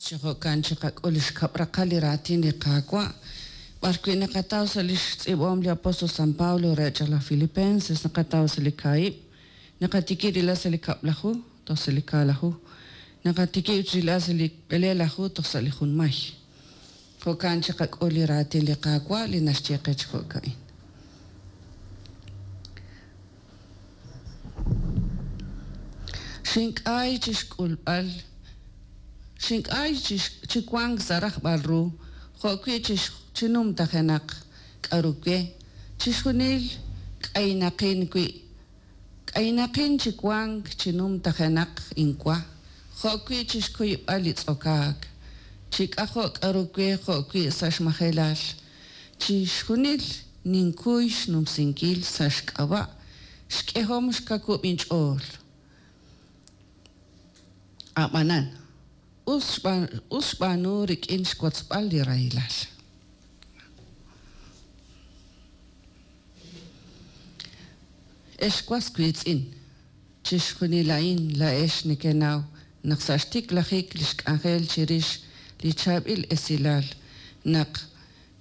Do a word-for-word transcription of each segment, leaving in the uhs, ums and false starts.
Chi jo'kan chiqak'ul li xkab' raqal li raatin li Qaawa', b'arwi' naqataw sa' li xtz'iib'ahom li apóstol San Pablo re chaq laj Filipenses, naqataw sa' li kaahib', naqatikib' rilb'al sa' li kab'laju toj sa' li kaalaju, naqatikib' rilb'al sa' li b'eleelaju toj sa' li junmay. Jo'kan chiqak'ul li raatin li Qaawa' li naxye qe chi jo'ka'in. Xink'ay chi xk'ulb'al, xink'ay chi wank sa' rajb'al ru, jo'wi' chi numtajenaq k'aru we, chixjunil k'aynaqin wi', k'aynaqin chi wank chi numtajenaq inwa jo'wi' chi xkuyb'al li tz'okaak, chi k'ajo' k'aru we jo'wi' sa' xmajelal, chixjunil ninkuy xnumsinkil sa' xk'ab'a' xk'ehom xkawub' inch'ool. Ab'anan, us xb'aanu rik'in xwotzb'al li rahilal. Ex was wiitz'in, chixjunil a'in laa'ex nekenaw naq sa' xtiklajik li xk'anjel chirix li chaab'il esilal naq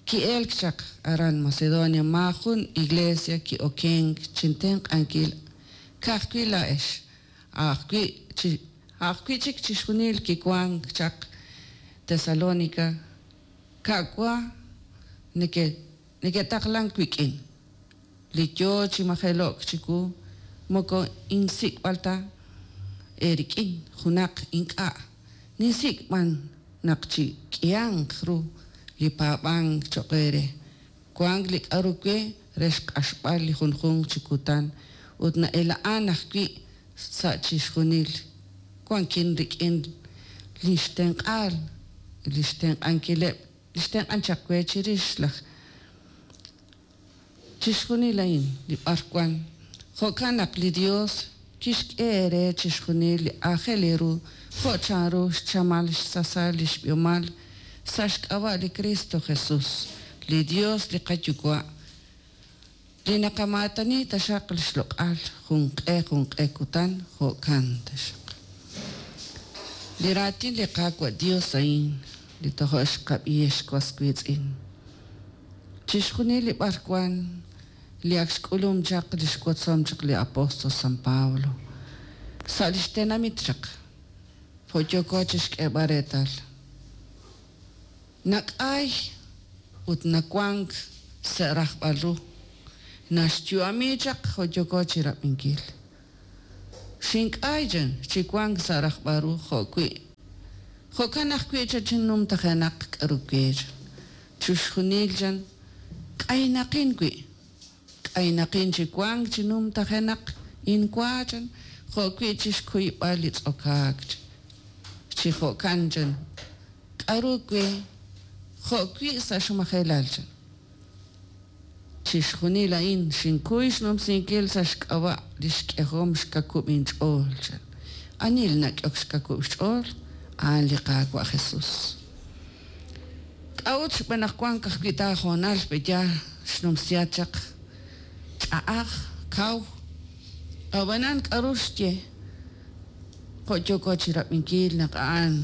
ki'elk chaq aran Macedonia maajun iglesia ki'okenk chintenq'ankil ka'ajwi' laa'ex, a'ajwi' chi a'ajwi' chik chixjunil kiwank chaq Tesalónica ka'wa neke neke'taqlank wik'in li yo chi majelo'k chiwu moko insik'b'al ta eerik'in junaq ink'a' ninsik' b'an naq chi k'ihanq ru li paab'ank cho'q eere wank li k'aru we re xq'axb'al li junjunq chi kutan ut na'ela'an ajwi' sa' chixjunil wankin rik'in li xtenq'aal li xtenq'ankileb' li xtenq'an chaq we chirix laj chixjunil a'in li b'arwan jo'kan naq li Dios kixk'e eere chixjunil li aajel eeru jo' chanru xchamal xsasal li xb'ihomal sa' xk'ab'a' li Cristo Jesús, li Dios li qayuwa', li naqamaatani taxaq li xloq'al junq'e junq'e kutan jo'kan taxaq. Li raatin li Qaawa' Dios a'in li tojo' xqab'i ex was wiitz'in. Chixjunil li b'arwan li ak xk'ulum chaq li xwotzom chaq li apóstol San Pablo sa' li xtenamit chaq jo' yooko chixk'eeb'al reetal. Nak'ay ut nawank sa' rajb'al ru naxyu'ami chaq jo' yooko chirab'inkil. Xink'ay chan chi wank sa' rajb'al ru jo'wi' jo'kan ajwi' cha chinumtajenaq k'aru we chan chixjunil chan k'aynaqin wi' k'aynaqin chi wank chi numtajenaq inwa chan jo'wi' chixkuyb'al li tz'okaak chi jo'kan chan k'aru we jo'wi' sa' xmajelal chan. Chixjunil a'in xinkuy xnumsinkil sa' xk'ab'a' li xk'ehom xkakub' inch'ool chan. Ani li nak'ehok xkakub' xch'ool a'an li Qaawa' Jesús. K'a'ut xb'aan naq wank ajwi' taahoonal b'eya xnumsiat chaq ch'a'aj kaw ab'anan k'aru xye jo' yooko chirab'inkil naq a'an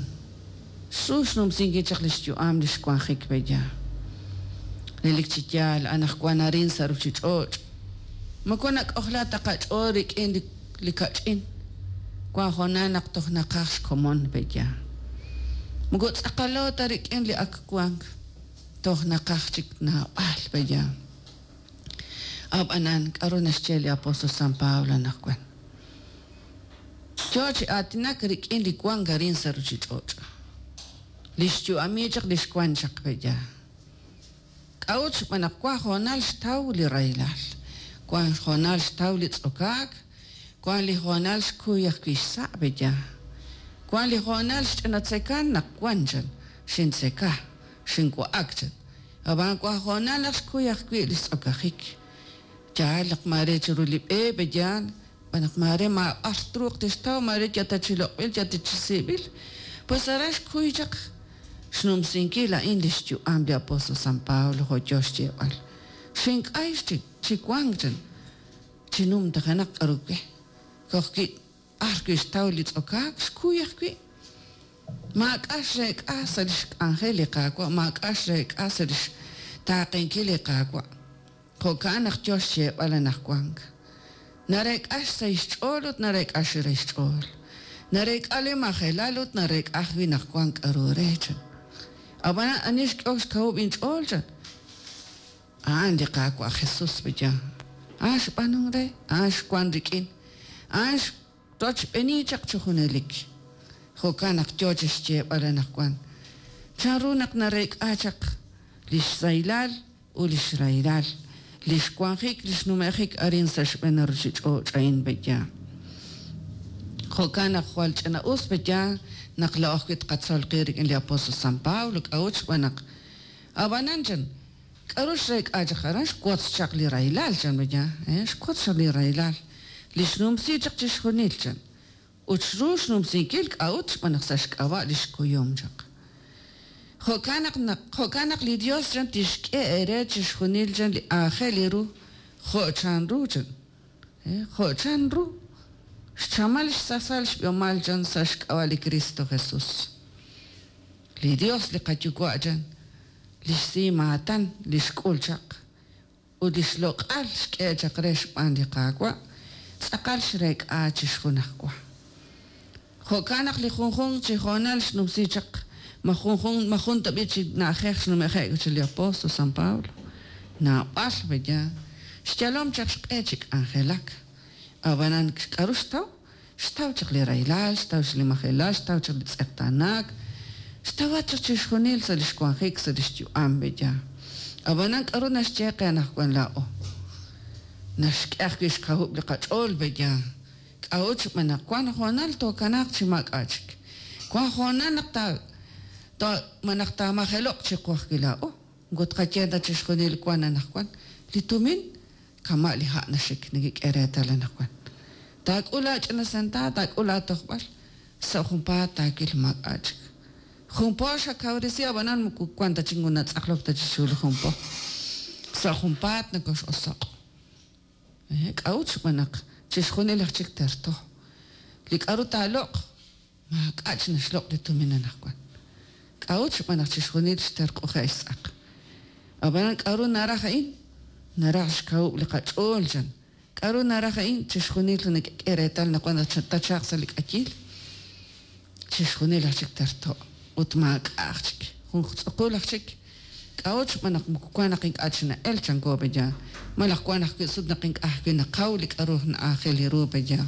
xru xnumsinkil chaq li xyu'am li xwanjik b'eya. Relik chi yaal anaqwan arin sa' ruuchich'och' moko nak'ojla ta qach'ool rik'in li kach'in wan hoonal naq toj naqaj xkomon b'eya. Moko tz'aqalo ta rik'in li ak wank toj naqaj chik naab'al b'eya. Ab'anan k'aru naxye li apóstol San Pablo anaqwan. Yo chi aatinak rik'in li wank arin sa' ruuchich'och'. Li xyu'ami chaq li xwank chaq b'eya. K'a'ut xb'aan naq wan hoonal xtaw li rahilal, wan hoonal xtaw li tz'okaak, wan li hoonal xkuy ajwi' xsa' b'eya. Wan li hoonal xch'inatzekan naq wan chan xintzeka, xinwa'ak chan. Ab'an wan hoonal naq xkuy ajwi' li xtz'okajik. Yaal naq maare chiru li b'e b'eya, b'an naq maare maab'ar truuq tixtaw maare yata chi loq'b'il yata chi siib'il. Pues aran xkuy chaq xnumsinkil a'in li xyu'am li apóstol San Pablo jo' yo xyeeb'al. Xink'ay chi chi wank chan chi numtajenaq k'aru we. Kojwi' b'ar wi' xtaw li tz'okaak xkuy ajwi'. Maak'a' xreek'a sa' lix k'anjel li Qaawa', maak'a' xreek'a sa' lix taaqenkil li Qaawa'. Jo'kan naq yo xyeeb'al anaqwan. Nareek'a xsahil xch'ool ut nareek'a xrahil xch'ool. Nareek'a li majelal ut nareek'a ajwi' naq wank k'aru re chan. Ab'anan ani xk'ehok xkawub' inch'ool chan? A'an li Qaawa' Jesús b'eya. A'an xb'aanunk re, a'an xwank rik'in, a'an xrochb'eeni chaq chi junelik. Jo'kan naq yo chi xyeeb'al anaqwan. Chanru naq nareek'a chaq li xsahilal ut li xrahilal, li xwanjik, li xnume'jik arin sa' xb'een ruuchich'och' a'in b'eya. Jo'kan naq jwal ch'ina'us b'eya naq laa'o ajwi' tqatzol qib' rik'in li apóstol San Pablo k'a'ut xb'aan naq ab'anan chan k'aru xreek'a chaq aran xwotz chaq li rahilal chan b'eya, xwotz chaq li rahilal li xnumsi chaq chixjunil chan ut xru xnumsinkil k'a'ut xb'aan naq sa' xk'ab'a' li xkuyum chaq. Jo'kan naq jo'kan naq li Dios chan tixk'e eere chixjunil chan li aajel ru jo' chanru chan, jo' chanru xchamal xsasal xb'ihomal chan sa' xk'ab'a' li Cristo Jesús. Li Dios li qayuwa' chan li xsimaatan li xk'ul chaq ut li xloq'al xk'e chaq re xb'aan li Qaawa' tz'aqal xreek'a chixjunajwa. Jo'kan naq li junjunq chi hoonal xnumsi chaq ma junjun ma jun tab'i chi na'ajej xnume'je'k chi li apóstol San Pablo naab'al b'eya xyalom chaq xq'e chi k'anjelak. Ab'anan k'aru xtaw? Xtaw chaq li rahilal, xtaw chaq li majelal, xtaw chaq li tz'eqtaanaak, xtawat chaq chixjunil sa' li xwanjik sa' li xyu'am b'eya. Ab'anan k'aru naxye qe anaqwan laa'o? Naxk'e ajwi' xkawub' li qach'ool b'eya. K'a'ut xb'aan naq wank hoonal tookanaaq chi maak'a' chik. Wank hoonal naq ta ma naq taamajelo'q chiqu ajwi' laa'o. Moko tqaye ta chixjunil wank anaqwan. Li tumin kama' li ha' naxik nekek'e reetal anaqwan. Taak'ul aach'ina sentaavo, taak'ul aatojb'al, sa' junpaat taawil maak'a' chik. Jun po xakawresi ab'anan moko wank ta chik natz'aqlok ta chi xul jun po. Sa' junpaat nakox'osoq'. K'a'ut xb'aan naq chixjunil aj chik terto. Li k'aru taaloq' maak'a' chi naxloq' li tumin anaqwan. K'a'ut xb'aan naq chixjunil xterq'uje' xtz'aq. Ab'anan k'aru naraj a'in? Naraj xkawub' li qach'ool chan. K'aru naraj a'in? Chixjunil nakek'e reetal naq wan tachaq sa' li k'ayil. Chixjunil aj chik terto' ut maak'a' aj chik. Jun tz'uqul aj chik. K'a'ut xb'aan naq moko wank naq ink'a' chi na'el chanko b'eya. Malaj wank ajwi' sut naq ink'a' ajwi' naqaw li k'aru na'aajel ru b'eya.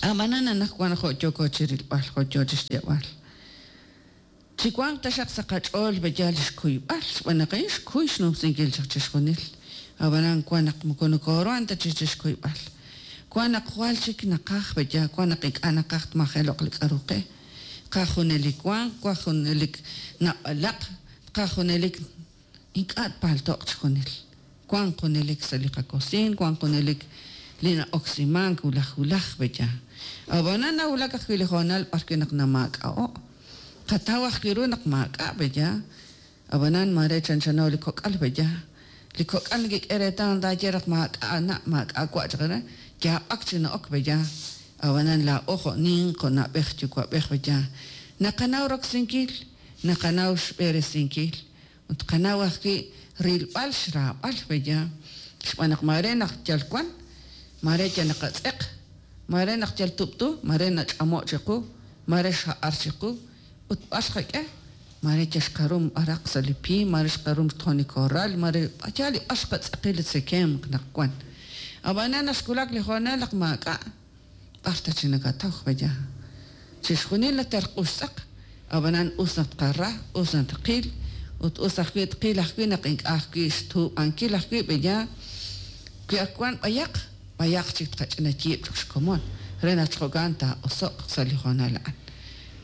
Ab'anan anaqwan jo' yooko chi rilb'al, jo' yo chi xyeeb'al. Chi wanq taxaq sa' qach'ool b'eya li xkuyb'al, xb'aan naq a'in xkuy xnumsinkil chaq chixjunil. Ab'anan wank naq moko nokooruhan ta chi chixkuyb'al. Wank naq jwal chik naqaj b'eya, wank naq ink'a' naqaj tmajelo'q li k'aru qe. Qaj junelik wanq, qaj junelik nab'alaq, qaj junelik ink'a' tpalto'q chixjunil. Wank junelik sa' li qakosiin, wank junelik li na'oksimank wulaj wulaj b'eya. Ab'anan nawulak ajwi' li hoonal b'arwi' naq namaak'a'o'. Qataw ajwi' ru naq maak'a' b'eya. Ab'anan mare chanchano li kok'al b'eya. Li kok'al nekek'e reetal taaye naq maak'a' na' maak'a' wa' chaq re yaab'ak chi na'ok b'eya. Ab'anan laa'o jo' ninq jo' na'b'ej yuwa'b'ej b'eya. Naqanaw roksinkil, naqanaw xb'eresinkil ut qanaw ajwi' rilb'al xraab'al b'eya. Xb'aan naq mare naq yal wan, mare yal naqatz'eq, mare naq yal tub'tu, mare nach'amo' chiqu, mare xha'ar chiqu ut b'ar xqak'e, mare yal xqarum b'araq sa' li pim, mare xqarum xtjon li korral, mare yal li b'ar xqatz'eqi li tzekemq naq wan. Ab'anan naq xwulak li hoonal naq maak'a', b'ar ta chi nakataw b'eya. Chixjunil naterq'u xtz'aq, ab'anan us naq tqara, us naq tqil, ut us ajwi' tqil ajwi' naq ink'a' ajwi' xtuub'ankil ajwi' b'eya. Wi ak wan b'ayaq, b'ayaq chik tqach'ina yiib' chaq xkomon, re naq jo'kan taa'oso'q sa' li hoonal a'an.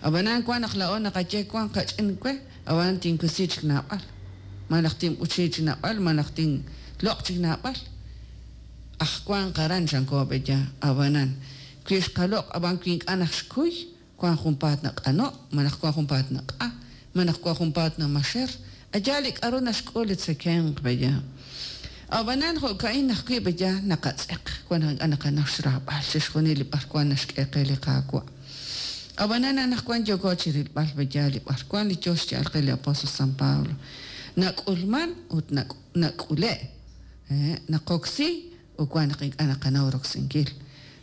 Ab'anan wank naq laa'o naqaye wank qach'in we, ab'anan tinwisi chik naab'al. Malaj tinb'uchi chik naab'al, malaj tinloq' chik naab'al. Aj wank aran chanko b'eya, ab'anan wi xqaloq' ab'an wi ink'a' naq xkuy, wank junpaat naq'ano', malaj wank junpaat naq'a, malaj wank junpaat namaxer. Aya li k'aru naxk'ul li tzekemq b'eya. Ab'anan jo'ka'in ajwi' b'eya naqatz'eq, wank naq ink'a' naqanaw xraab'al chixjunil li b'arwan naxk'e qe li Qaawa'. Ab'anan anaqwan yooko chi rilb'al pe'yaal li b'arwan li yo xya'al qe li apóstol San Pablo. Nak'ulman ut nak'ule', naqoksi ut wan naq ink'a' naqanaw roksinkil.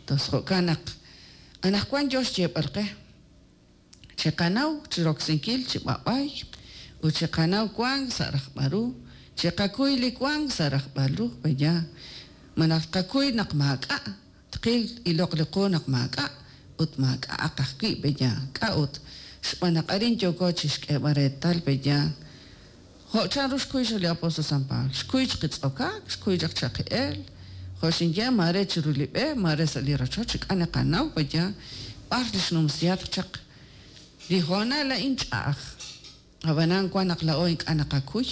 Tos jo'kan naq anaqwan yo xyeeb'al qe chiqanaw chi roksinkil chi b'ab'ay ut chiqanaw wank sa' rajb'al ru, chiqakuy li wank sa' rajb'al ru pe'yaal. Malaj tqakuy naq maak'a', tqil iloq li qu naq maak'a' ut maak'a'aq ajwi' pe'yaal. K'a'ut? Xb'aan naq arin yooko chi xk'eeb'al reetal pe'yaal. Jo' chanru xkuy chaq li apóstol San Pablo, xkuy chaq tz'okaak, xkuy chaq chaqi'eel, jo' xinye maare chiru li b'e, maare sa' li rochoch, ink'a' naqanaw pe'yaal b'ar li xnumsihatq chaq. Li hoonal a'in ch'a'aj. Ab'anan wan naq laa'o ink'a' naqakuy,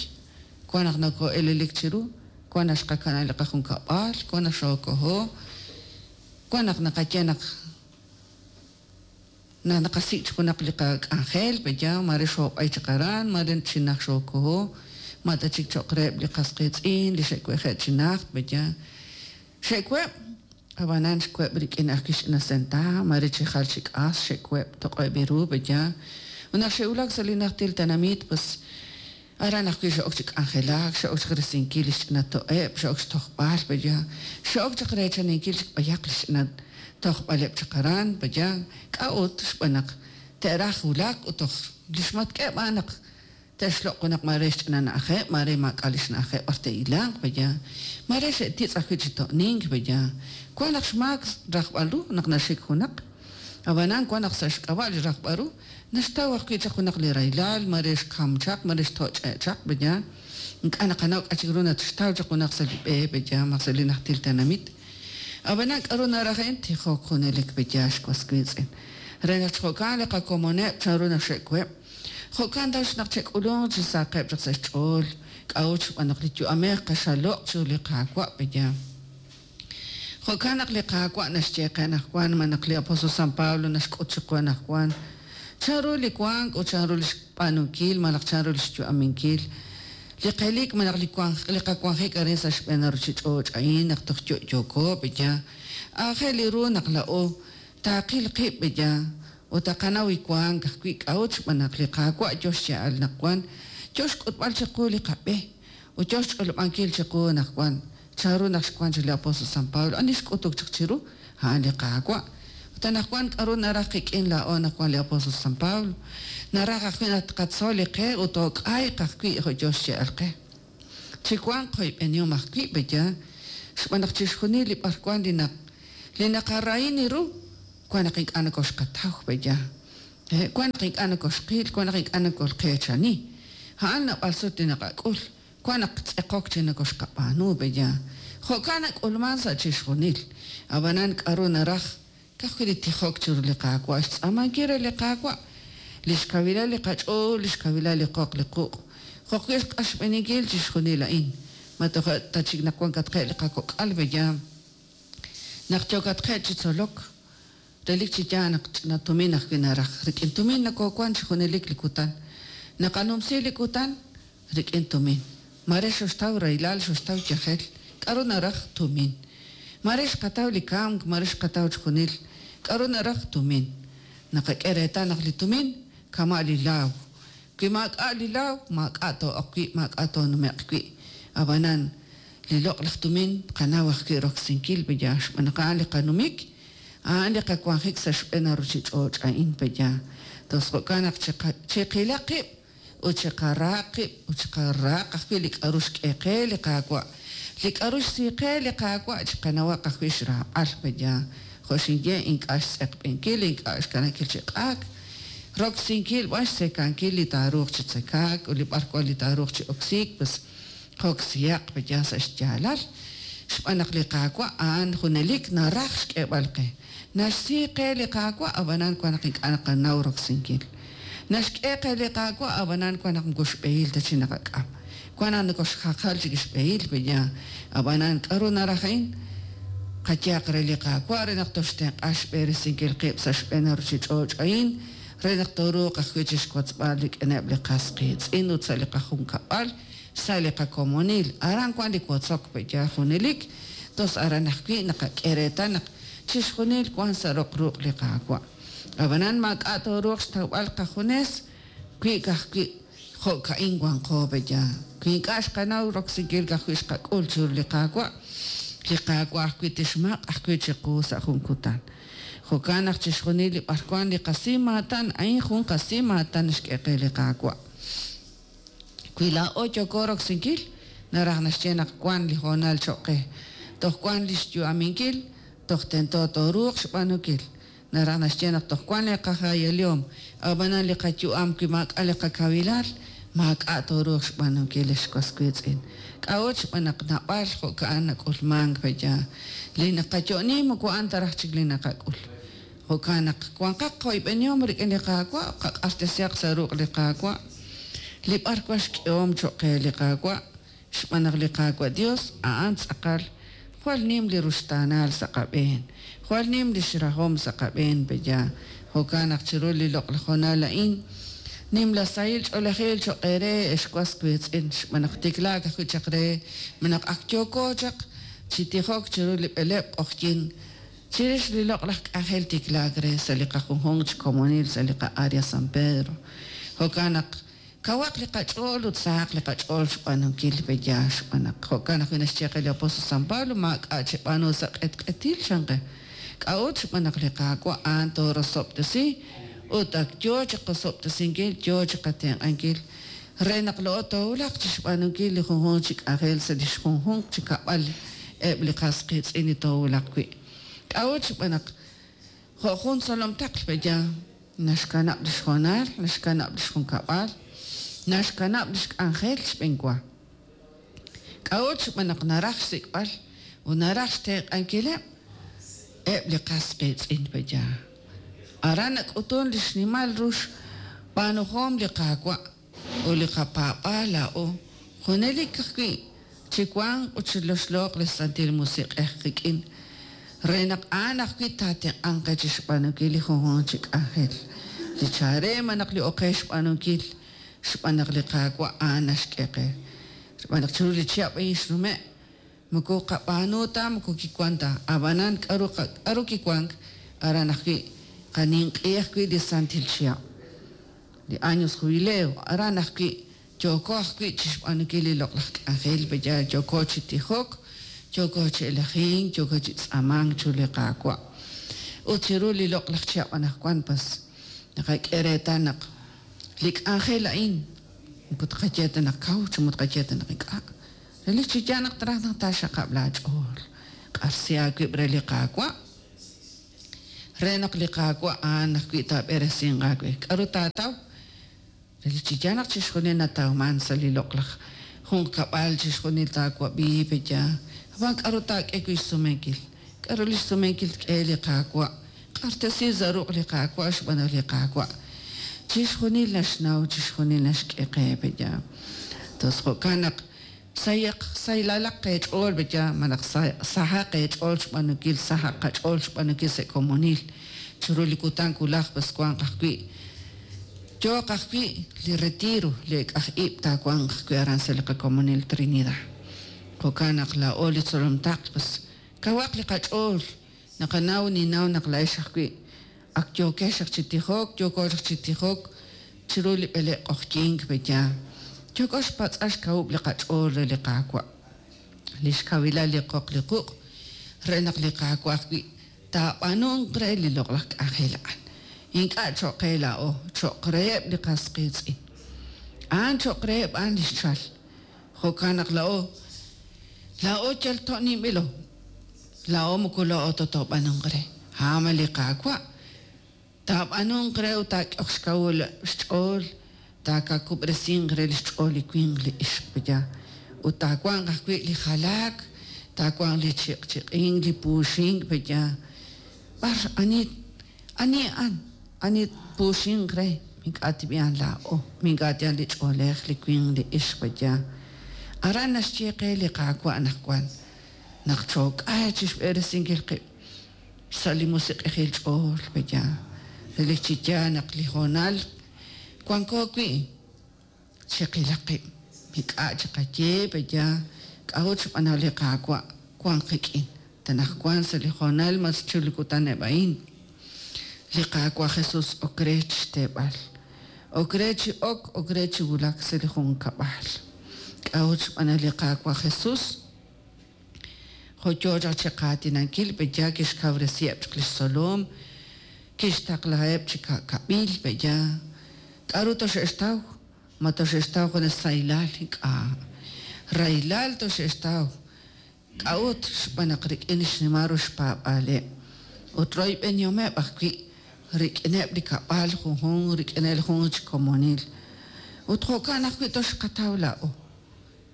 wan naq nokoo'elelik chiru, wan naq xqakanab' li qajunkab'al, wan naq xookoho, wan naq naqaye naq naq naqasik' chaq junaq li qak'anjel pe'yaal, maare xoob'ay chaq aran, maare chi najt xookoho, ma ta chik cho'q reheb' li qas qiitz'in li xe'weje' chi najt pe'yaal. Xe'web', ab'anan xweb' rik'in ajwi' xch'ina sentaab', maare chi jal chi k'as xe'web' toq'eb' ru pe'yaal. Ut naq xe'wulak sa' li najtil tenamit, pues aran ajwi' xe'ok chi k'anjelak, xe'ok chaq risinkil li xch'ina to'eb', xe'ok xtojb'al pe'yaal, xe'ok chaq reechaninkil chik b'ayaq li xch'ina tojb'aleb' chaq aran pe'yaal. K'a'ut? Xb'aan naq te'raj wulak ut toj li xmatk'eb' a'an naq te'xloq' junaq maare xch'ina na'ajeb', maare maak'a' li xna'ajeb' b'ar te'hilanq pe'yaal. Maare xe'titz' ajwi' chi to'nink pe'yaal. Wan naq xmaak rajb'al ru naq naxik junaq, ab'anan wan naq sa' xk'ab'a' li rajb'al ru naxtaw ajwi' chaq junaq li rahilal, maare xkam chaq, maare xtoch'e' chaq pe'yaal. Ink'a' naqanaw k'a' chik ru naxtaw chaq junaq sa' li b'e pe'yaal, malaj sa' li najtil tenamit. Ab'anan k'aru naraj a'in? Tijok junelik pe'yaal xwas wiitz'in. Re naq chi jo'kan li qakomoneb' chanru naq xe'web'. Jo'kan tax naq che'k'ulunq chi saqeb' chaq sa' xch'ool. K'a'ut? Xb'aan naq li yu'amej qaxaloq' chiru li Qaawa' pe'yaal. Jo'kan naq li Qaawa' naxye qe anaqwan, ma naq li apóstol San Pablo naxk'ut chiqu anaqwan chanru li wank ut chanru li xb'aanunkil malaj chanru li xyu'aminkil li qelik malaj li wank li qawanjik arin sa' xb'een ruuchich'och' a'in naq toj yo'yooko pe'yaal. Aajel ru naq laa'o taaqil qib' pe'yaal ut taqanaw li wank ajwi'. K'a'ut? Xb'aan naq li Qaawa' yo xya'al naq wan, yo xk'utb'al chiqu li qab'e ut yo xch'olob'ankil chiqu naq wan chanru naq xwank chaq li apóstol San Pablo. Ani xk'utuk chaq chiru? A'an li Qaawa'. Ut anaqwan k'aru naraj qik'in laa'o naq wan li apóstol San Pablo? Naraj ajwi' naq tqatzol li qe ut took'ayq ajwi' jo' yo xye'al qe. Chi wanq qoyb'enihom ajwi' pe'yaal, xb'aan naq chixjunil li b'arwan li naq li naqarahini ru wan naq ink'a' nokoxqataw pe'yaal. Wan naq ink'a' nokoxqil, wan naq ink'a' nokolqeechani. A'an naab'al sut li naqak'ul, wan naq tz'eqok chi nokoxqab'aanu pe'yaal. Jo'kan nak'ulman sa' chixjunil. Ab'anan k'aru naraj? Ka'ajwi' li tijok chiru li Qaawa', xtz'aamankil re li Qaawa' li xkawilal li qach'ool, li xkawilal li qoq li quq', jo'wi' xq'axb'eninkil chixjunil a'in. Ma toja' ta chik naq wankatqe' li qakok'al pe'yaal. Naq yookatqe' chi tzolok, relik chi yaal naq ch'ina tumin ajwi' naraj. Rik'in tumin nokoowank chi junelik li kutan. Naqanumsi li kutan rik'in tumin. Maare xoxtaw rahilal, xoxtaw yajel. K'aru naraj? Tumin. Maare xqataw li kamk, maare xqataw chixjunil. K'aru naraj? Tumin. Naqak'e reetal naq li tumin kama' li laaw. Wi maak'a' li laaw, maak'a' too'oq wi', maak'a' toonume'q wi'. Ab'anan li loq'laj tumin tqanaw ajwi' roksinkil pe'yaal, xb'aan naq a'an li qanumik, a'an li qawanjik sa' xb'een ruuchich'och' a'in pe'yaal. Tos jo'kan naq chiqilaq qib' ut chiqaraaq qib' ut chiqaraaq ajwi' li k'aru xk'e qe li Qaawa'. Li k'aru xsi qe li Qaawa' chiqanawaq ajwi' xraab'al pe'yaal. Jo' xinye ink'a' xtz'eqb'enkil, ink'a' xkanankil chi q'aak, roksinkil b'an xtzekankil li taaruuq chi tzekaak ut li b'arwan li taaruuq chi oksiik, pues qoksihaq pe'yaal sa' xyaalal. Xb'aan naq li Qaawa' a'an junelik naraj xk'eeb'al qe. Naxsi qe li Qaawa', ab'anan wan naq ink'a' naqanaw roksinkil. Naxk'e qe li Qaawa', ab'anan wan naq moko xb'ehil ta chi naqak'am. Wan naq nokoxjaqal chik xb'ehil pe'yaal. Ab'anan k'aru naraj a'in? Qayehaq re li Qaawa' re naq toxtenq'a xb'eresinkil qib' sa' xb'een ruuchich'och' a'in, re naq tooruuq ajwi' chi xwotzb'al rik'ineb' li qas qiitz'in ut sa' li qajunkab'al, sa' li qakomonil. Aran wan li wotzok pe'yaal junelik, tos aran ajwi' naqak'e reetal naq chixjunil wan sa' roq ruq' li Qaawa'. Ab'anan maak'a' tooruuq xtawb'al qajunes wi ka'ajwi' jo'ka'in wanqo pe'yaal. Wi ink'a' xqanaw roksinkil ka'ajwi' xqak'ul chiru li Qaawa', li Qaawa' ajwi' tixmaq' ajwi' chiqu sa' jun kutan. Jo'kan naq chixjunil li b'arwan li qasimaatan, a'in jun qasimaatan xk'e qe li Qaawa'. Wi laa'o yooko roksinkil, naraj naxye naq wank li hoonal cho'q qe. Toj wank li xyu'aminkil, toj tento tooruuq xb'aanunkil. Naraj naxye naq toj wank li qajayalihom, ab'anan li qayu'am wi maak'a' li qakawilal, maak'a' tooruuq xb'aanunkil ex was wiitz'in. K'a'ut xb'aan naq naab'al jo'ka'an nak'ulmank pe'yaal. Li naqayo'oni moko a'an ta raj chik li naqak'ul. Jo'kan naq wanqaq qoyb'enihom rik'in li Qaawa', qaq'axtesihaq sa' ruq' li Qaawa'. Li b'arwan xk'ehom cho'q qe li Qaawa', xb'aan naq li Qaawa' Dios a'an tz'aqal jwal nim li ruxtaanal sa' qab'een, jwal nim li xrahom sa' qab'een pe'yaal. Jo'kan naq chiru li loq'laj hoonal a'in, nimla sahil ch'oolejil cho'q eere ex was wiitz'in, xb'aan naq tiklaak ajwi' chaq re naq ak yooko chaq chi tijok chiru li b'eleb' q'oqyink chirix li loq'laj k'anjel tiklaak re sa' li qajunjunq chi komonil sa' li qa-área San Pedro. Jo'kan naq kawaq li qach'ool ut sahaq li qach'ool xb'aanunkil pe'yaal, xb'aan naq jo'kan ajwi' naxye qe li apóstol San Pablo maak'a' cheb'aanu sa' q'etq'etil chan qe. K'a'ut xb'aan naq li Qaawa' a'an toorosob'tesi ut ak yoo chi qosob'tesinkil, yoo chi qatenq'ankil re naq laa'o toowulaq chi xb'aanunkil li junjunq chi k'anjel sa' li xjunjunq chi kab'al eb' li qas qiitz'in li toowulaq wi'. K'a'ut xb'aan naq jo' jun tzolom taql pe'yaal naxkanab' li xhoonal, naxkanab' li xjunkab'al, naxkanab' li xk'anjel xb'enwa. K'a'ut xb'aan naq naraj xsik'b'al ut naraj xtenq'ankileb' eb' li qas qiitz'in pe'yaal. Aran nak'utun li xnimal ru xb'aanuhom li Qaawa' ut li qapaab'aal laa'o junelik ajwi' chi wanq ut chiloxlooq li Santil Musiq'ej qik'in re naq a'an ajwi' taatenq'anq qe chi xb'aanunkil li junjunq chi k'anjel. Li chareem naq li oqe xb'aanunkil xb'aan naq li Qaawa' a'an naxk'e qe. Xb'aan naq chiru li chihab' a'in xnume' moko qab'aanu ta moko kiwan ta, ab'anan k'aru k'aru kiwank aran ajwi' qaninq'i ajwi' li santil chihab', li años jubileo, aran ajwi' yooko ajwi' chi xb'aanunkil li loq'laj k'anjel pe'yaal yooko chi tijok, yooko chi elajink, yooko chi tz'aamank chiru li Qaawa'. Ut chiru li loq'laj chihab' anaqwan pas naqak'e reetal naq li k'anjel a'in moko tqaye ta naq kaw chi moko tqaye ta naq ink'a'. Relik chi yaal naq traj naq taaxaqab' laach'ool. Q'arsi aawib' re li Qaawa' re naq li Qaawa' a'an ajwi' taab'eresinq aawe. K'aru taataw? Relik chi yaal naq chixjunil natawman sa' li loq'laj junqkab'al, chixjunil taawab'i pe'yaal. Ab'an k'aru taak'e wi' xsumenkil? K'aru li xsumenkil tk'e li Qaawa'? Q'axtesi sa' ruq' li Qaawa' xb'aan naq li Qaawa' chixjunil naxnaw, chixjunil naxk'e qe pe'yaal. Tos jo'kan naq sayaq saylalaq qech'ool pe'yaal, malaj sahaq eech'ool xb'aanunkil, sahaq qach'ool xb'aanunkil sa' komonil. Chiru li kutan wulaj pues wanq ajwi' yooq ajwi' li retiro, li k'aj ib' taawanq ajwi' aran sa' li qakomonil Trinidad. Jo'kan naq laa'o li tzolom taql pues kawaq li qach'ool, naqanaw ninnaw naq laa'ex ajwi' ak yookex chi tijok, yooko chi tijok chiru li b'eleb' q'oqyink pe'yaal. Yooko xpatz'al xkawub' li qach'ool re li Qaawa', li xkawilal li qoq li quq' re naq li Qaawa' ajwi' taab'aanunq re li loq'laj k'anjel a'an. Ink'a' cho'q qe laa'o, cho'q reheb' li qas qiitz'in. A'an cho'q reheb' a'an li xchal. Jo'kan naq laa'o laa'o yal to'ninb'ilo. Laa'o moko laa'o ta toob'aanunq re. A'an li Qaawa' taab'aanunq re ut taak'ehaq xkawul xch'ool, taakakub'resinq re li xch'ool li winq li ixq pe'yaal. Ut taawanq ajwi' li jalaak, taawanq li chiq'chiq'ink, li puuxink pe'yaal. B'ar ani ani a'an, ani puuxinq re, ink'a' tib'ihan laa'o, ink'a' tihan li ch'oolej, li winq, li ixq pe'yaal. Aran naxye qe li Qaawa' anaqwan naq chook'ay chi xb'eresinkil qib' sa' li musiq'ejil ch'ool pe'yaal. Relik chi yaal naq li hoonal wanko wi' chiqilaq qib', ink'a' chiqaye pe'yaal, k'a'ut xb'aan naq li Qaawa' wank qik'in. Tanaqwan sa' li hoonal mas chiru li kutan eb' a'in. Li Qaawa' Jesus ok re chixteeb'al, ok re chi ok, ok re chi wulak sa' li junkab'al. K'a'ut xb'aan naq li Qaawa' Jesus jo' yoo chaq chiqaatinankil, pe'ya kixkawresiheb' chaq lix tzolom, kixtaqlaheb' chi ka'kab'il, pe'ya k'a'ru toxe'xtaw? Ma toxe'xtaw junes sahilal? Ink'a'. Rahilal toxe'xtaw. K'a'ut? Xb'aan naq rik'in xnimal ru xpaab'aaleb' ut royb'enihomeb' ajwi' rik'ineb' li kab'al junjunq, rik'ineb' li junjunq chi komonil. Ut jo'kan ajwi' toxqataw laa'o.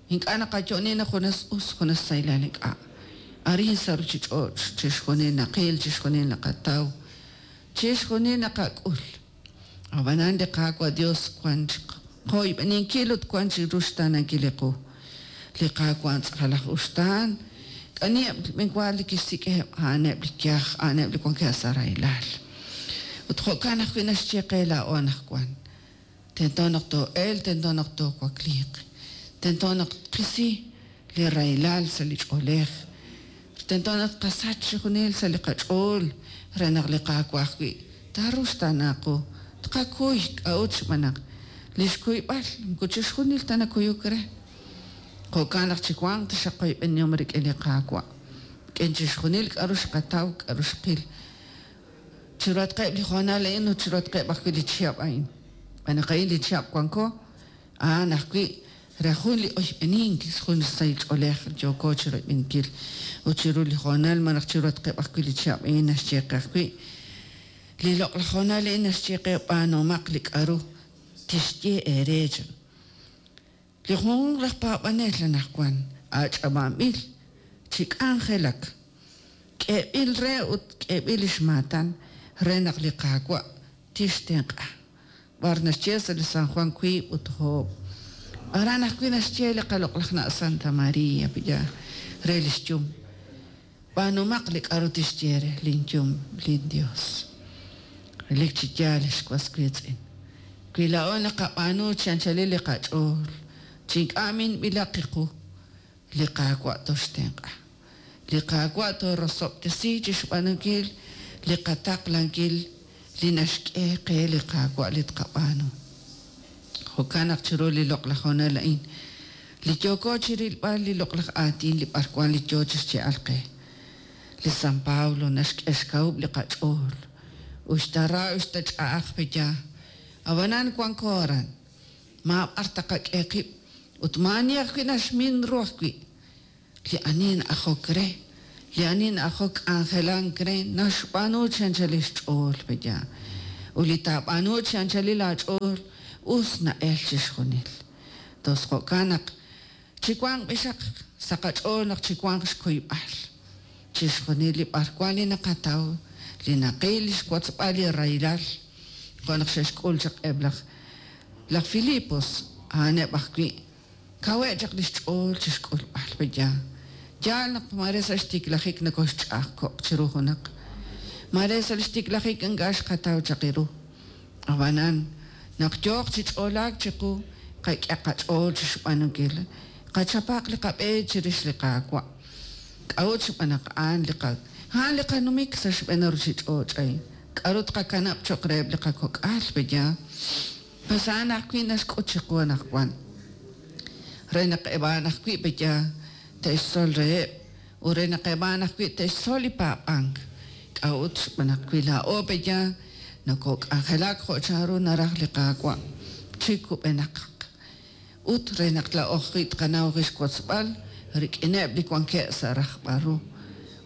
Ink'a' naqayo'oni naq junes us, junes sahilal ink'a'. Arin sa' ruchich'och' chixjunil naqil, chixjunil naqataw, chixjunil naqak'ul. Ab'anan li Qaawa' Dios wan chi qoyb'eninkil ut wan chi ruxtaanankil li qu. Li Qaawa' tz'aqal aj uxtaan, k'aniheb' b'enwa li kixsik'eb', a'aneb' li yaj, a'aneb' li wankeb' sa' rahilal. Ut jo'kan ajwi' naxye qe laa'o anaqwan. Tento naq too'elq, tento naq toowakliiq. Tento naq tqisi li rahilal sa' li ch'oolej. Tento naq tqasach chixjunil sa' li qach'ool re naq li Qaawa' ajwi' taaruxtaana qu. Tqakuy k'a'ut xb'aan naq li xkuyb'al moko chixjunil ta nakuyuk re. Jo'kan naq chiwanq taxaq qoyb'enihom rik'in li Qaawa'. Rik'in chixjunil k'a'ru xqataw, k'a'ru xqil. Chiruhatqeb' li hoonal a'in ut chiruhatqeb' ajwi' li chihab' a'in. Xb'aan naq a'in li chihab' wanko, a'an ajwi' re jun li oyb'enink, jun sahil ch'oolej yooko chiroyb'eninkil. Ut chiru li hoonal malaj chiruhatqeb' ajwi' li chihab' a'in naxye qe ajwi'. Li loq'laj hoonal a'in naxye qe b'aanumaq li k'a'ru tixye eere chan. Li junjunq laj paab'anel anaqwan ach'ab'anb'il chi k'anjelak. K'eeb'il re ut k'eeb'il lix maatan re naq li Qaawa' tixtenq'a. B'ar naxye sa' li San Juan wiib' ut oob'. Aran ajwi' naxye li qaloq'laj na' Santa María pe'ya re lix yum. B'aanumaq li k'a'ru tixye re lin yum, lin Dios. Relik chi yaal ex was wiitz'in. Wi laa'o naqab'aanu chi anchalil li qach'ool, chi ink'a' minb'ilaq qiqu, li Qaawa' toxtenq'a. Li Qaawa' toorosob'tesi chixb'aanunkil li qataqlankil li naxk'e qe li Qaawa' li tqab'aanu. Jo'kan naq chiru li loq'laj hoonal a'in, li yooko chirilb'al li loq'laj aatin li b'arwan li yoo chixye'al qe. Li San Pablo naxk'e xkawub' li qach'ool. Uxta ra, uxta ch'a'aj pe'ya. Ab'anan wanko aran. Maab'ar taqak'e qib' ut maa'ani ajwi' naxmin ru ajwi'. Li ani na'ajok re, li ani na'ajok k'anjelank re, naxb'aanu chi anchalil xch'ool pe'ya. Ut li taab'aanu chi anchalil aach'ool, us na'el chixjunil. Tos jo'kan naq chiwanq b'ixaq sa' qach'ool naq chiwanq xkuyb'al. Chixjunil li b'arwan li naqataw, li naqil, li xwotzb'al li rahilal. Jo' naq xe'xk'ul chaq eb' laj laj Filipos, a'aneb' ajwi' kawe' chaq lix ch'ool chixk'ulb'al pe'ya. Yaal naq mare sa' xtiklajik nokoxch'a'ajko'q chiru junaq. Mare sa' xtiklajik ink'a' xqataw chaq ru. Ab'anan naq yooq chi ch'oolaak chiqu, qak'e qach'ool chixb'aanunkil. Qachapaq li qab'e chirix li Qaawa'. K'a'ut xb'aan naq a'an li qa a'an li qanumik sa' xb'een ruchich'och' a'in. K'a'ru tqakanab' cho'q reheb' li qakok'al pe'ya. Pues a'an ajwi' naxk'ut chiqu anaqwan. Re naq eb' a'an ajwi' pe'ya te'xtzol reheb' ut re naq eb' a'an ajwi' te'xtzol li paab'ank. K'a'ut xb'aan naq wi laa'o pe'ya nokok'anjelak jo' chanru naraj li Qaawa' chi kub'enaq. Ut re naq laa'o ajwi' tqanaw xwotzb'al rik'ineb' li wankeb' sa' rajb'al ru.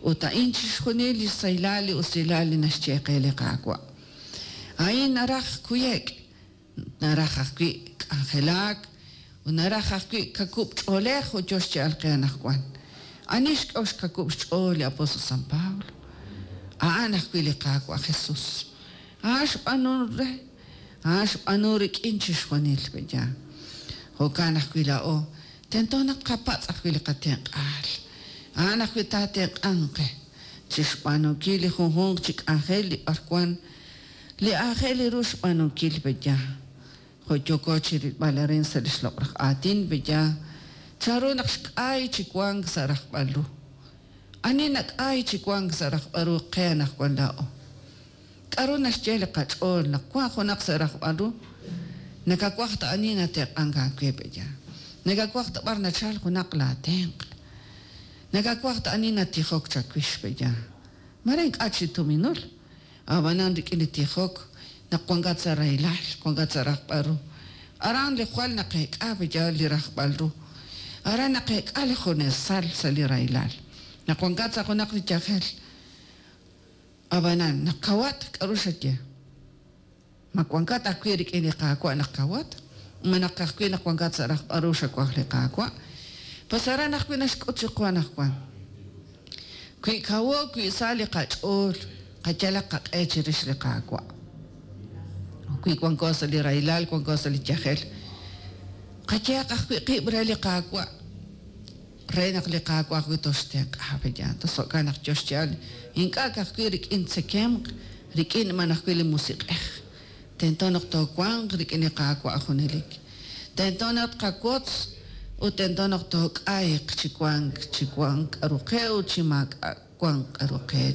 Ut a'in chixjunil li sahilal li usilal li naxye qe li Qaawa'. A'in naraj kuyek', naraj ajwi' k'anjelak, ut naraj ajwi' kakub' ch'oolej ut yo xye'al qe anaqwan. Ani xk'ew xkakub' xch'ool li apóstol San Pablo? A'an ajwi' li Qaawa' Jesus. A'an xb'aanu re, a'an xb'aanu rik'in chixjunil pe'ya. Jo'kan ajwi' laa'o, tento naq qapatz' ajwi' li qatenq'aal. A'an ajwi' taatenq'anq qe chixb'aanunkil li junjunq chi k'anjel li b'arwan li aajel ru xb'aanunkil pe'ya. Jo' yooko chirilb'al arin sa' li xloq'laj aatin pe'ya, chanru naq xk'ay chi wank sa' rajb'al ru. Ani nak'ay chi wank sa' rajb'al ru qe anaqwan laa'o. K'aru naxye li qach'ool naq wank junaq sa' rajb'al ru? Nakawaj ta ani natenq'ank aawe pe'yaal? Nakawaj ta b'ar nachalk junaq laatenq'? Nakawaj ta ani natijok chawix pe'yaal? Mare ink'a' chi tuminul, ab'anan rik'in li tijok naq wankat sa' rahilal, wankat sa' rajb'al ru. Aran li jwal naqeek'a pe'yaal li rajb'al ru. Aran naqeek'a li junesal sa' li rahilal. Naq wankat sa' junaq li yajel, ab'anan naq kawat, k'aru xaye? Ma wankat ajwi' rik'in li Qaawa' naq kawat? Ma naq ka'ajwi' naq wankat sa' rajb'al ru xawaj li Qaawa'? Pues aran ajwi' naxk'ut chiqu anaqwan. Wi kawo, wi sa li qach'ool, qayalaq qaq'e chirix li Qaawa'. Wi wanko sa' li rahilal, wanko sa' li yajel, qayehaq ajwi' qib' re li Qaawa', re naq li Qaawa' ajwi' toxtenq'a pe'yaal. Tos jo'kan naq yo xyaal, ink'a' ka'ajwi' rik'in tzekemq, rik'in b'an ajwi' li musiq'ej. Tento naq toowanq rik'in li Qaawa' junelik. Tento naq tqawotz ut tento naq took'ayq chi wank, chi wank k'aru qe ut chi maak'a' wank k'aru qe.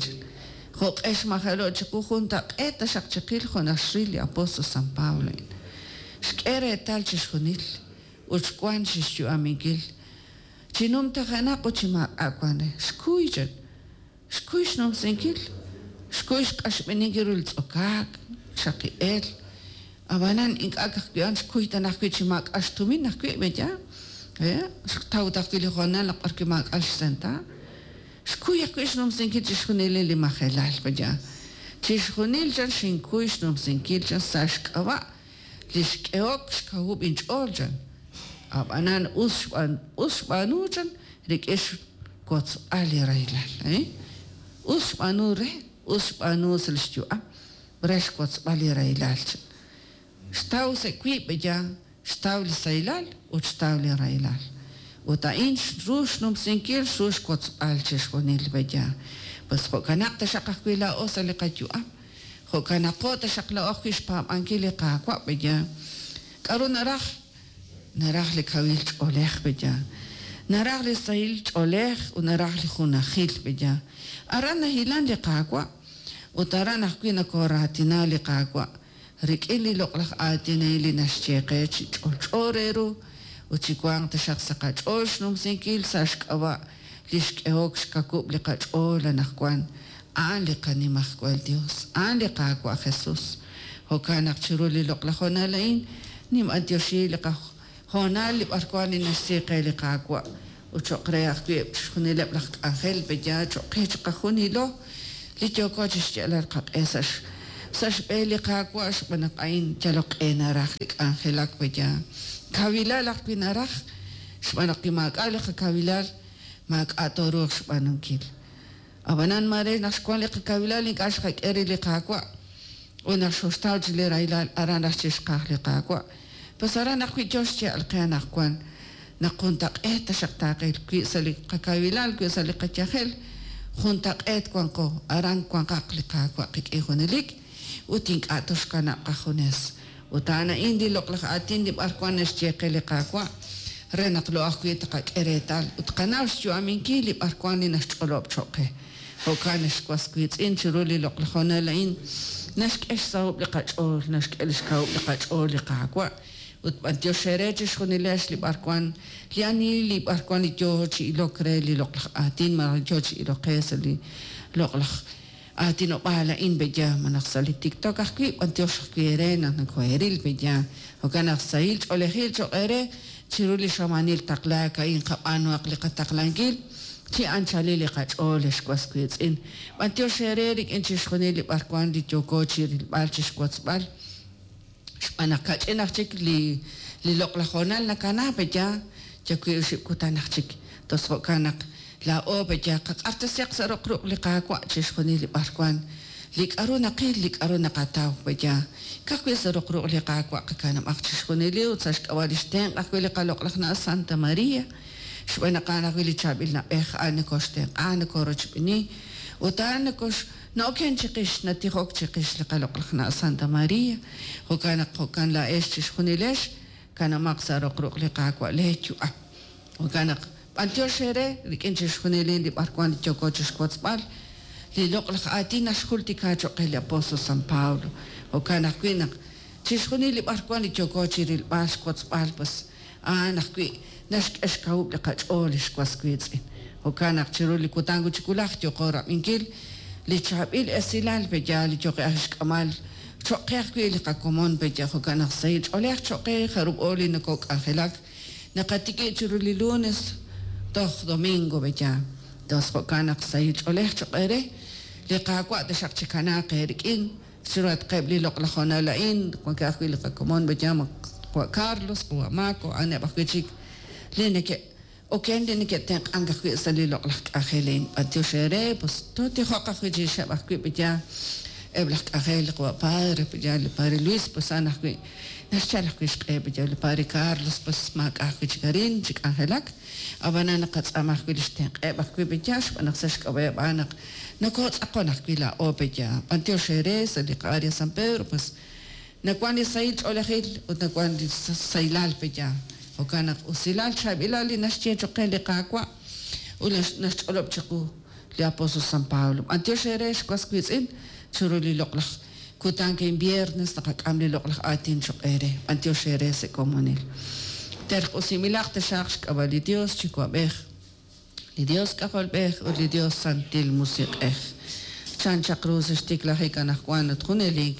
Jo'q'e xmajelo' chiqu juntaq'eet taxaq chiqil jo' naxril li apóstol San Pablo. Xk'e reetal chixjunil ut xwank chi xyu'aminkil. Chi numtajenaq ut chi maak'a' wank re. Xkuy chan, xkuy xnumsinkil, xkuy xq'axb'eninkil ru li tz'okaak, chaqi'eel. Ab'anan ink'a' ka'ajwi' a'an xkuy tan ajwi' chi maak'a' xtumin ajwi' pe'yaal. Xtaw ta ajwi' li hoonal naq b'arwi' maak'a' xsenta. Xkuy ajwi' xnumsinkil chixjunil li majelal pe'yaal. Chixjunil chan xinkuy xnumsinkil chan sa' xk'ab'a' li xk'ehok xkawub' inch'ool chan. Ab'anan us xb'aan us xb'aanu chan rik'in xwotzb'al li rahilal. Us xb'aanu re, us xb'aanu sa' li xyu'am re xwotzb'al li rahilal chan. Xtaw sa' wiib' pe'yaal, xtaw li sahilal ut xtaw li rahilal. Ut a'in ru xnumsinkil, ru xwotzb'al chixjunil pe'yaal. Pues jo'kanaq taxaq ajwi' laa'o sa' li qayu'am. Jo'kanaqo taxaq laa'o ajwi' xpaab'ankil li Qaawa' pe'yaal. K'aru naraj? Naraj li kawil ch'oolej pe'yaal. Naraj li sahil ch'oolej ut naraj li junajil pe'yaal. Aran nahilan li Qaawa' ut aran ajwi' nakooraatina li Qaawa' rik'in li loq'laj aatin a'in li naxye qe chi ch'olch'o re ru ut chi wanq taxaq sa' qach'ool xnumsinkil sa' xk'ab'a' li xk'ehok xkawub' li qach'ool anaqwan. A'an li qanimajwal Dios, a'an li Qaawa' Jesús. Jo'kan naq chiru li loq'laj hoonal a'in ninb'antioxi li qahoonal li b'arwan li naxsi qe li Qaawa' ut cho'q re ajwi' chixjunileb' laj k'anjel pe'yaal cho'q qe chiqajunilo li yooko chi xyalal qaq'e sa' sa' xb'een li Qaawa' xb'aan naq a'in yalok q'e naraj li k'anjelak pe'yaal. Kawilal ajwi' naraj xb'aan naq wi maak'a' li qakawilal maak'a' tooruuq xb'aanunkil. Ab'anan mare naq xwank li qakawilal ink'a' xqak'e re li Qaawa' ut naq xoxtaw chi li rahilal aran raj chixqaj li Qaawa'. Pues aran ajwi' yo xye'al qe anaqwan naq juntaq'eet taxaq taaqil wi' sa' li qakawilal wi' sa' li qayajel juntaq'eet wanqo aran wanqaq li Qaawa' qik'in junelik ut ink'a' toxkanab' qajunes. Ut a'an a'in li loq'laj aatin li b'arwan naxye qe li Qaawa' re naq lo ajwi' taqak'e reetal ut qanaw xyu'aminkil li b'arwan li naxch'olob' cho'q qe. Jo'kan naxwas wiitz'in chiru li loq'laj hoonal a'in naxk'e xsahob'l li qach'ool, naxk'e li xkawub' li qach'ool li Qaawa' ut b'antiox re chixjunilex li b'arwan li ani li b'arwan li yo chi ilok re li loq'laj aatin malaj yo chi ilok qe sa' li loq'laj aatinob'aal a'in pe'yaal malaj sa' li TikTok ajwi' b'antiox ajwi' eere naq nakoheril pe'yaal. Jo'kan naq sahil ch'oolejil cho'q eere chiru li xamanil taqlaak a'in qab'aanuhaq li qataqlankil chi anchalil li qach'ool ex was wiitz'in. B'antiox eere rik'in chixjunil li b'arwan li yooko chi rilb'al chi xwotzb'al. Xb'aan naq kach'in aj chik li li loq'laj hoonal nakana pe'yaal yawi' oxib' kutan aj chik. Tos jo'kan naq laa'o pe'yaal qaq'axtesiaq sa' roq ruq' li Qaawa' chixjunil li b'arwan li k'aru naqil li k'aru naqataw pe'yaal. Ka'ajwi' sa' roq ruq' li Qaawa' qakanab'aq chixjunil ut sa' xk'ab'a' li xtenq' ajwi' li qaloq'laj na' Santa María. Xb'aan naq a'an ajwi' li chaab'il na'b'ej a'an nakoxtenq'a nakorochb'eni ut a'an nakox na'oken chiqix natijok chiqix li qaloq'laj na' Santa María. Jo'kan naq jo'kan laa'ex chixjunilex kanamaq sa' roq ruq' li Qaawa' lee yu'am. Jo'kan naq b'antiox eere rik'in chixjunil li b'arwan li yooko chixwotzb'al li loq'laj aatin naxjultika cho'q qe li apóstol San Pablo. Jo'kan ajwi' naq chixjunil li b'arwan li yooko chi rilb'al xwotzb'al pues a'an ajwi' naxk'e xkawub' li qach'ool li xwas wiitz'in. Jo'kan naq chiru li kutan chi wulaj yooqo rab'inkil li chaab'il esilal pe'yaal li yooqe aj xk'amal cho'q qe ajwi' li qakomon pe'yaal. Jo'kan naq sahil ch'oolej cho'q qe jarub'o li nokok'anjelak naqatikib' chiru li lunes toj domingo pe'yaal. Tos jo'kan naq sahil ch'oolej cho'q eere li Qaawa' taxaq chikanaaq eerik'in chiruhatqeb' li loq'laj honal a'in wankeb' ajwi' li qakomon pe'yaal qawa' Carlos, qawa' Marco, a'aneb' ajwi' chik li neke'oken li neke'tenq'ank ajwi' sa' li loq'laj k'anjel a'in. B'antiox eere pues tootijoq ajwi' chirixeb' ajwi' pe'yaal eb' laj k'anjel qawa' padre pe'yaal li padre Luis pues a'an ajwi' naxyal ajwi' xq'e pe'yaal li padre Carlos pues maak'a' ajwi' chik arin chi k'anjelak ab'anan naqatz'aama ajwi' li xtenq'eb' ajwi' pe'yaal xb'aan naq sa' xk'ab'a'eb' a'an naq nokotz'aqon ajwi' laa'o pe'yaal. B'antiox eere sa' li qa-área San Pedro pues nawan li sahil ch'oolejil ut nawan li sahilal pe'yaal. Jo'kan naq usilal chaab'ilal li naxye cho'q qe li Qaawa' ut naxch'olob' chiqu li apóstol San Pablo. B'antiox eere xwas wiitz'in chiru li loq'laj kutan a'in viernes naqak'am li loq'laj aatin cho'q eere. B'antiox eere sa' komonil. Terq'usinb'ilaq taxaq xk'ab'a' li Dios Yuwa'b'ej, li Dios K'ajolb'ej ut li Dios Santil Musiq'ej. Chan chaq ru sa' xtiklajik anaqwan ut junelik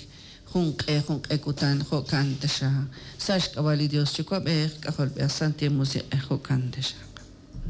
jun q'e jun q'e kutan jo'kan taxaq. Sa' xk'ab'a' li Dios Yuwa'b'ej, K'ajolb'ej, Santil Musiq'ej jo'kan taxaq.